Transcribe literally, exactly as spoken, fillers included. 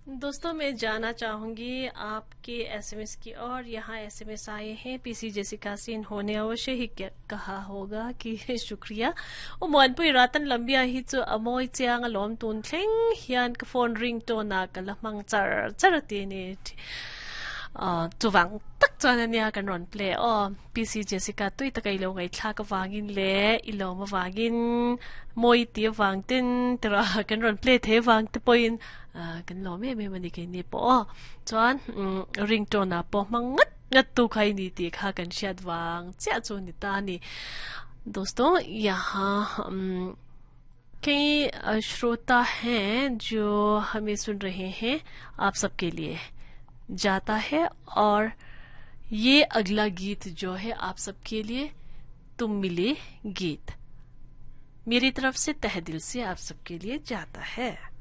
दोस्तों, मैं जाना चाहूंगी आपके एसएमएस की और यहाँ एसएमएस आए हैं। पीसी जेसिका से इन्होंने अवश्य ही कहा होगा कि शुक्रिया। ओ मोनपुई रातन लंबिया ही चु अमोई चिang alom tun thleng hian ka phone ring tone a ka la mang char char ti ni chuwang tak chuan ania kan rawn play aw. P C Jessica tui taka ilo ngaihthla ka wangin le ilo ma wangin moi ti wang tin tera kan rawn play the wang te pawhin kan lo me me mani ke ni po aw. Chuan ringtone a pawh hmang ngat ngat tu khai ni ti kha kan hriat wang chiah chu ni ta ni. दोस्तों, यहाँ कई श्रोता हैं जो हमें सुन रहे हैं, आप सबके लिए जाता है और ये अगला गीत जो है आप सबके लिए तुम मिले गीत मेरी तरफ से तहे दिल से आप सबके लिए जाता है।